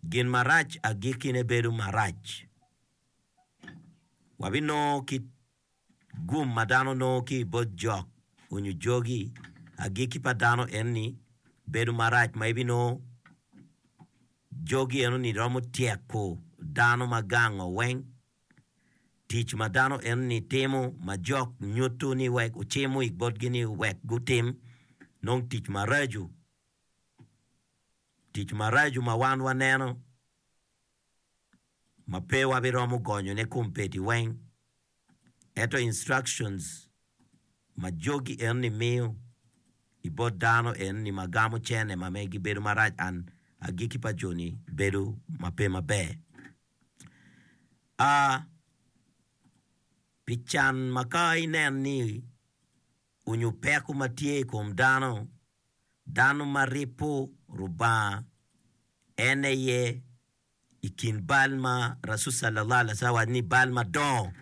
Gin marac agikkine bedo marac. Wabinongo kit gum ma dano nongo ki i bot jok onyo jogi, agikki pa dano en-ni bedo marac ma ibinongo jogi eno-ni romo tyeko dano ma gango weng. Tic ma dano eno-ni timo ma jok nyuto ni wek ocimo i botgi ni wek gutim nongo tic maraco. Tic maraco ma wan waneno ma pe wabiromo gonyone kombeddi weng, ento instructions ma jogi enoni miyo i bot dano enoni ma gamo cene ma megi bedo marac and agikki pa joni bedo ma pe maber. A Pi can ma ka inen ni onyo peko ma tye i kom dano, dano ma ripo Rubanga en aye i kin bal ma Rasul Sallallahu Alaihi Wasallam owaco ni bal madongo.